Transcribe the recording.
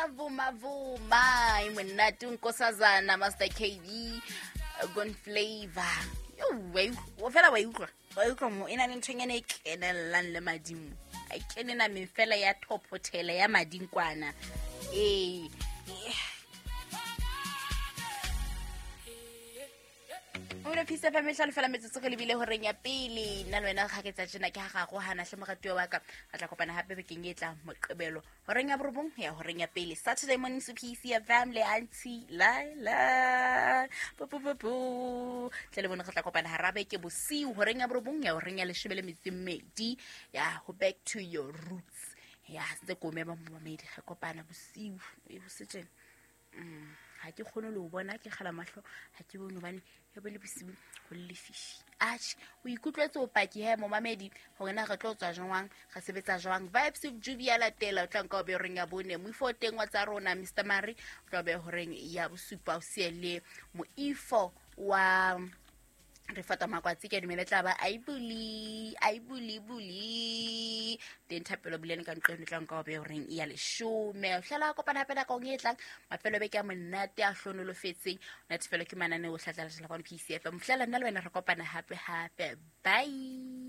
Vuma vuma e monate nkosazana Master KB Gone Flavor. Yo, wa fela wa utlwa. Wa utlwa mo e na le nthonyana e kenellang le madimo. A kene nameng fela ya thophothela ya mading kwana. Ee. O le fisa fa metlhalo fela metsotso go lebile goreng ya pele. Nna le wena ga ke tsa tjena ke ga gago hana hle moratuwa wa ka. Re tla kopana gape bekeng e tlang Moqebelo horeng ya 9 ya horeng ya pele. Saturday morning su PC FM le Auntie Laila. Bu bu bu bu. Tle le bone re tla kopana hara beke bosiu horeng ya 9 ya horeng ya 12 ya go back to your roots. Ya sentse ko mema momamedi re kopana bosiu e ho se tjena. Ga ke kgone le o bona ke gala matlho ga ke bone hobane e bo le bosiu go le lefifi. Atjhe, o ikutlwetse o paki he momamedi gore na re tlo tswa jwang, re sebetsa jwang. Vibes with Juby ya latela o tla nka o be horeng ya 4. Moifo o teng wa tsa rona Mr Mari o tla be horeng ya 7 o siye le moifo wa re fata makwatsi ke a dumela e tla ba aibuli aibuli buli teng thapelo bulene ka nqeno tla nka o be horeng ya 10. O hlela kopana hape nakong e tlang mafelo beke a monate a hlonolofetseng natefelo ke mananeo o hlatla latela kwano PCFM. Fihlela nna le wena re kopana hape hape. Bye.